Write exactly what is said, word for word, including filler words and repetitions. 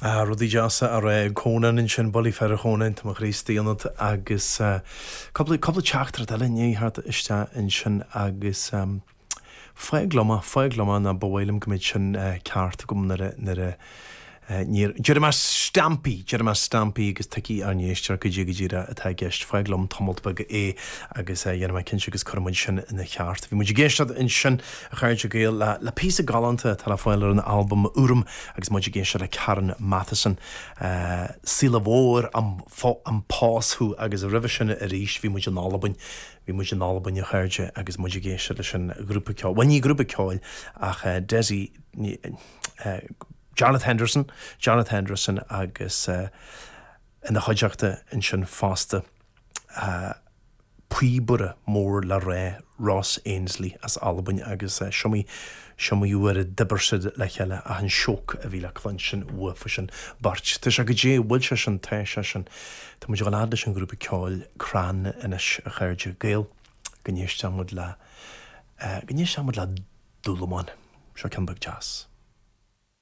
Ah, rudaí deasa á rá ag Conan ansin, bullaí faire Chonáin, tá mo chroí istigh ionat agus cúpla cúpla teachtaireacht eile i ndiaidh theacht isteach ansin agus fág liom é, fág liom é nó ba mhaith liom go mbeadh sin ceart agam nuair a nuair a níor déarfaidh mé stampaí, déarfaidh mé stampaí agus tuigfidh ár n-éisteoir goidé go díreach atá i gceist. Fág liom tamalt beag é agus dhéanfaidh mé cinnte agus cuirfidh muid sin ina cheart. Bhí muid ag éisteacht ansin, a chairde Gael, le le píosa galánta atá le fáil ar an albam Úram agus muid ag éisteacht le Karen Matheson, Saoile Mhór am am pás thú agus roimhe sin arís bhí muid in Albain. Bhí muid in Albain, a chairde, agus muid ag éisteacht leis an ghrúpa ceoil, bhuel ní grúpa ceoil ach Desi, Jarlath Henderson, Jarlath Henderson agus ina chuideachta ansin fosta píobaire mór le rá Ross Ainslie as Albain agus is iomaí is iomaí uair a d'oibir siad le chéile ach an sioc a bhí le cluinstin uafa sin beirt. Tá sé goidé bhfuil sé sin, tá sé sin. Tá muid ag dul fhad leis an ghrúpa ceoil Crann anois, a chairde Gael, go n-éistfidh muid le go n-éistfidh muid le Dúlamán. Seo ceann beag deas.